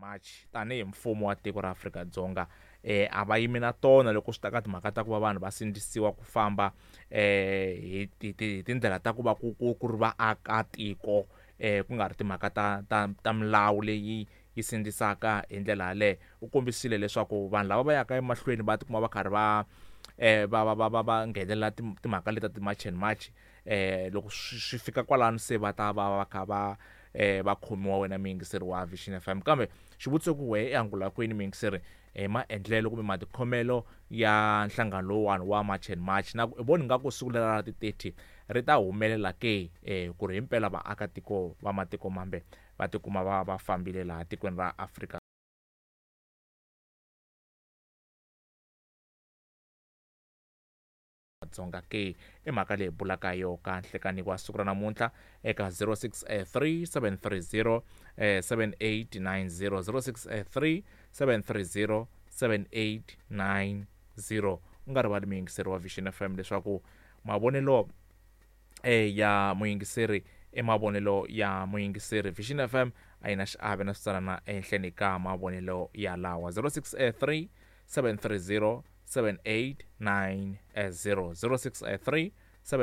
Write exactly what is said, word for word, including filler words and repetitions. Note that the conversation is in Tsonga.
March tanihi mfumo wa tiko ra Afrika-Dzonga eh a va yimi na tona loko swi ta ka timhaka ta ku va vanhu va sindzisiwa ku famba eh hi hi tindlela ta ku va ku ku ku ri vaakatiko eh ku nga ri timhaka ta ta ta milawu leyi yi sindzisaka hi ndlela yaleyo. U kombisile leswaku vanhu lava va yaka emahlweni va tikuma va karhi va eh va va va va va nghenelela timhaka leti ta ti-March and March eh loko swi fika kwalano se va ta va va kha va eh va khomiwa wena muyingiseri wa Vision F M. Kambe xivutiso ku wehe i angula kwini muyingiseri hi maendlelo kumbe matikhomelo ya nhlangano lowuwani wa March and March, na ku i voni nga ku siku lera ra ti-thirty ri ta humelela ke eh ku ri himpela vaakatiko va matiko mambe va tikuma va va fambile laha tikweni ra Afrika Dzonga ke? I mhaka leyi bulaka yo ka nhlekani wa siku ra namuntlha eka zero six three seven three zero seven eight nine zero, zero six three seven three zero seven eight nine zero. U nga rivali muyingiseri wa Vision F M leswaku mavonelo eh ya muyingiseri i mavonelo ya muyingiseri. Vision F M a yi na xiave na switsalana ehenhleni ka mavonelo ya lawa zero six three seven three zero seven eight nine zero, zero six three